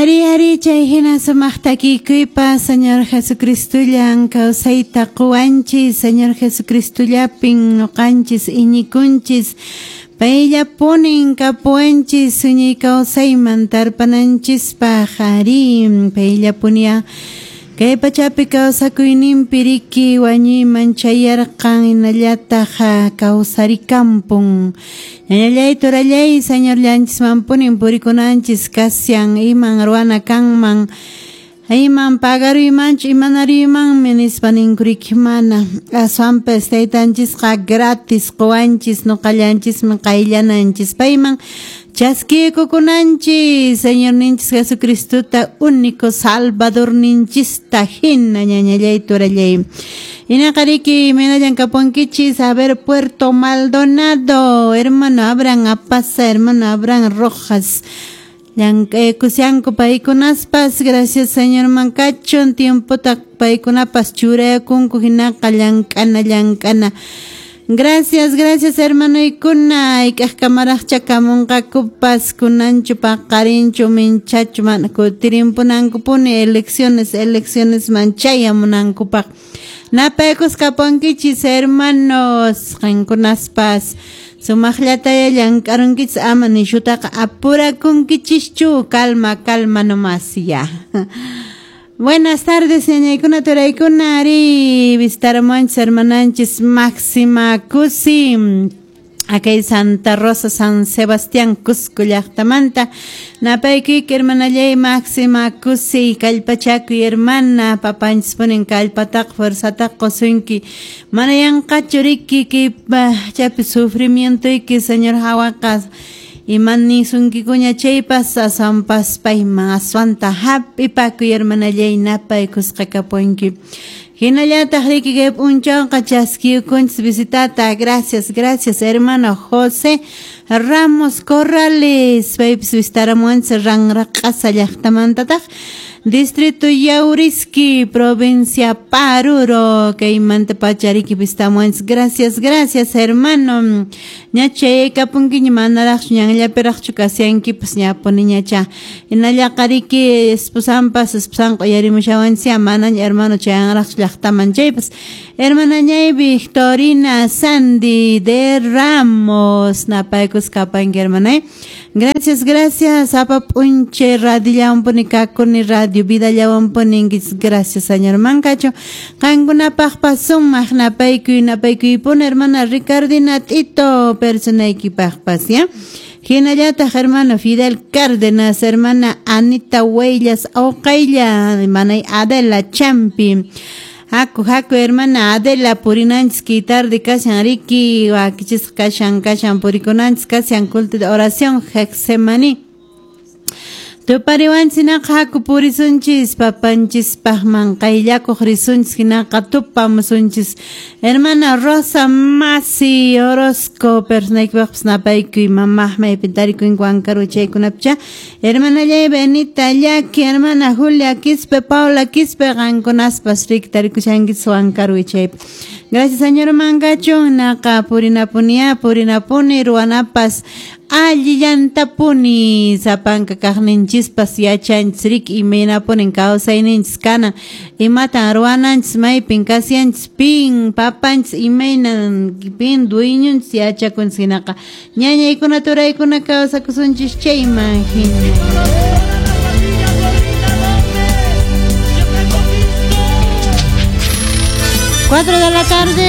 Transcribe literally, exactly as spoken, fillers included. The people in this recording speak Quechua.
Ari ari chay hina sumaq takikuypa Señor Jesucristullan kawsayta quwanchis, Señor Jesucristullapin nuqanchis iñikunchis, payllapunin kapuwanchis suñay kawsayman tarpananchispaq, ari payllapunia kay pachapi kawsakuyninpi riki wañuyman chayarqan hinallataq kawsarikampun. Ñañallay turallay Señor llanchismanpunin purikunanchis kasyan iman ruwana kanman iman pagaruymanchu imanaruymanmi nispa ninkuriki mana aswanpas taytanchisqa gratis quwanchis nuqallanchismi qayllananchis payman chaskiykukunanchis Señor ninchis Jesucristuta único Salvador ninchista hina ñañallay turallay. Inaqariki imaynallan kapunkichis, a ver Puerto Maldonado, hermano Abraham Apaza, hermano Abraham Rojas, llank'aykusyanku paykunaspas, gracias Señor mankachun tiempota paykunapas churayakunku hinaqa llank'ana llank'ana. Gracias, gracias hermanoykuna, ik'aqkamaraqcha kamunqakupas kunanchu paqarinchu minchachu mana kutirimpunankupuni elecciones elecciones man chayamunankupaq. Napaykus kapunkichis hermanos qankunaspas sumaqllataya llank'arunkichis ama nishutaqa apurakunkichischu, calma calma nomás ya. Buenas tardes, ñañaykuna turaykuna, ari visitaramuanchis hermananchis Máxima Cusi, acá Santa Rosa, San Sebastián, Cusco llaqtamanta. Napaykuyki hermanallay Máxima Cusi, kallpachakuy hermana, papanchis punin kallpataqa fuerzataqa qusunki, mana yanqachu riki kay pachapi sufrimientoyki Señor hawaqa iman nisunkikuña chaypas aswanpas payman aswanta hap'ipakuy hermanallay napaykusqa kapunki. Hinallataq riki kay p'unchawqa chaskiykunchis visitata, gracias, gracias hermano José Ramos Corrales, paypis visitaramuanchis Ranraq'asa llaqtamantataq, distrito Yauriski, provincia Paruro, kaymanta pacha riki visitamuanchis, gracias, gracias hermano. Ña chayaykapunkiña manaraqchu ñanllapiraqchu kasyankipas ñapuniñacha. Hinallaqa riki esposanpas esposanqa uyarimushawanchis manaña hermano chayanraqchu llaqtaman chaypas. Hermanañay Victorina Sandy de Ramos, napaykus kapanki hermanay. Gracias, gracias. Sapa p'unchay radiollawanpuni kakuni radio vidallawanpuninkichis, gracias señor Mancacho. Qankunapaqpas sumaq napaykuy napaykuypuni hermana Ricardina Tito personaykipaqpas, ya. Hinallataq hermano Fidel Cárdenas, hermana Anita Huellas Oqaylla, hermana Adela Champi. Haku haku hermana Adela purinanchis kay tarde kashan riki wakichisqa kashan kashan purikunanchis kashan culto de oración Getsemaní. Tupariwanchis hinaqa haku purisunchis papanchispaqman qayllakuq risunchis hinaqa tupamusunchis. Hermana Rosa Masi Orozco personaykipaqpas napaykuy mamaq maypi tarikuyinku Huancaru chaykunapicha. Hermanallay Benita Llaki, hermana Julia Quispe, Paula Quispe qankunaspas riki tarikushankichis Huancaru chaypi. Gracias señor Mangachun, naqa purinapunia purinapuni ruwanapas allillantapuni sapanka kaqninchispas yachanchis riki imaynapunin kawsayninchis kanan imatan ruwananchis maypin kasyanchis pin papanchis imaynan pin dueñonchis yachakunchis hinaqa ñañaykuna turaykuna kawsakusunchis chayman hina. Cuatro de la tarde.